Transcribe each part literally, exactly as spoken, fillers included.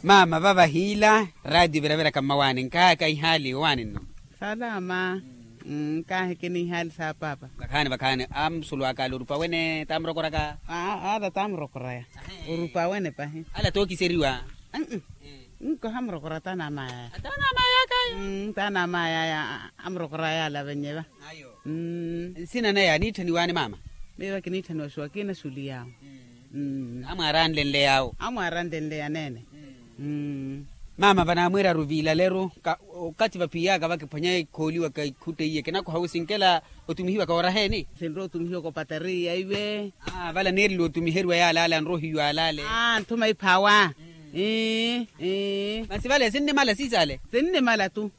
Maama vava hiila raatiyo viraviraka mmawaani nkahaka ihaali owaani nno. Salama. Nkaheke n'ihaali sa paapa. Vakhaani vakhaani. Amusulwaka ale orupa wene taamurokoraka? Ala taamurokoraya. Orupa wene pahi. Ala tookiseriwa. Nkoha murokora taana amayaya. Taana amayaka ayo. Taana amayaya. Amurokoraya ala vennyeva. Nsina naya aniitthaniwaani maama? Miiva kiniitthaniwa xuwakina xuliyawo. Amwaaranlenle yawo. Amwaaranlenle yaneene. Maama vanaamwiiraru viilaleru. Okathi vaphiyaka vakiphwanya ikhooliwaka ikhutte iye kinakoha wi sinkela otumihiwaka oraheeni? Sinrowa otumihiwaka opateriya iwe. Vala neereliwa otumiheriwa yaale ale anrohiwa alale. Nthuma iphawa. Masi vale sinnimala siisale. Sinnimala tu.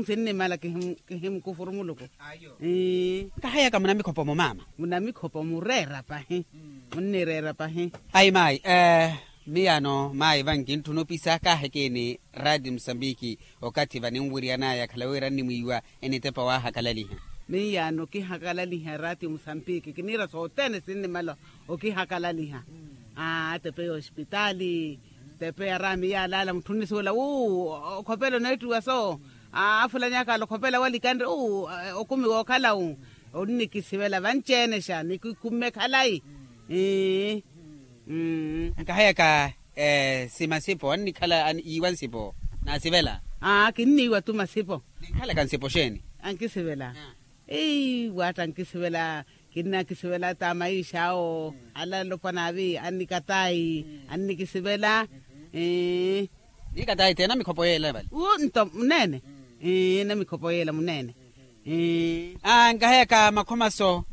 Sinnimala kihimukufuru muluku. Nkaheyaka munamikhopo-mo maama? Munamikhopo mureera pahi. Munnireera pahi. Ayi maayi. Miyaano maayi vankintthuna opisa kaahekeni raati musambiki. Okathi vaninwiryanaya khala wira nnimwiiwa enitepa waahakalaliha. Miyaano kihakalaliha raati musambiki kiniira sothene sinnimala okihakalaliha. Atepe ya ospitaali tepe ya raami yaalaala mutthu onnisuwela wu okhopela oneettiwa so. Afulanyaka ala okhopela walikanre wu okumi wookhala wu. Onnikisivela vanci-ene xa nikikumme khalayi. Nkaheyaka simasipo annikhala yiiwa nsipo naasivela. Kinniiwa tu masipo. Ninkhalaka nsipo xeeni? Ankisivela. Iiwa atta ankisivela. Kinnakisivela ta maisha awo. Ala alopwana avi annikatayi annikisivela. Niikatayi te namikhopo yeela vale. Nto muneene. Namikhopo yeela muneene. Nkaheyaka makhomaso.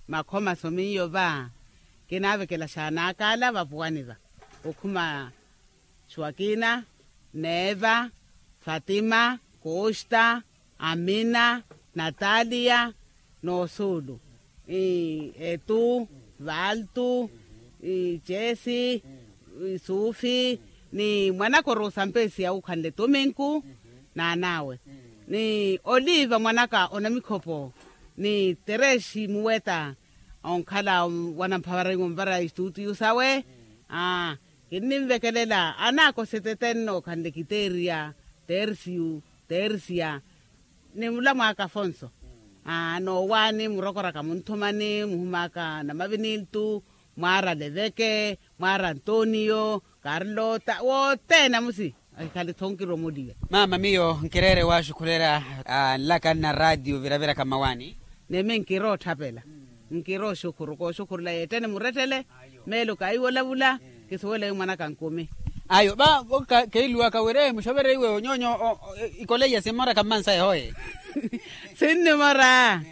Makhomaso miyo va kinaavekela xaanaaka ala vapuwani va okhuma xuwakina, neeva, fatima, kosta, amina, nataliya, noosuulu, etu, valtu, cesi, sufi, ni mwanaka orosampesi awukhanle tuminku n'an'awe, ni oliva mwanaka onamikhopo, ni teresi muweta onkhala wanamphavara iwe onvara istuutiyu sawe. Kinninvekelela anaaka osetete nnookhanle kiteeriya, tersiyu, tersiya, ni mulamwaaka afonso. Noowaani murokoraka munthumani muhumaaka namaviniltu, mwaara leveke, mwaara antoniyo, karlota wothene amusi. Ahikhale-tho nkiromoliwe. Maama miyo nkireere waaxukhulera nlaka nna raatiyo viraviraka mmawaani. Nimi nkirootthaphela. Nkirooxukhuru kooxukhurula yeettene murettele. Meelo kaiwo olavula. Kisuwela wi mwanaka nkumi. Ayo va keeluwaka wira muxovere iwe onyoonyo ikoleiya simmoraka mmansa ehoye. Sinnimora.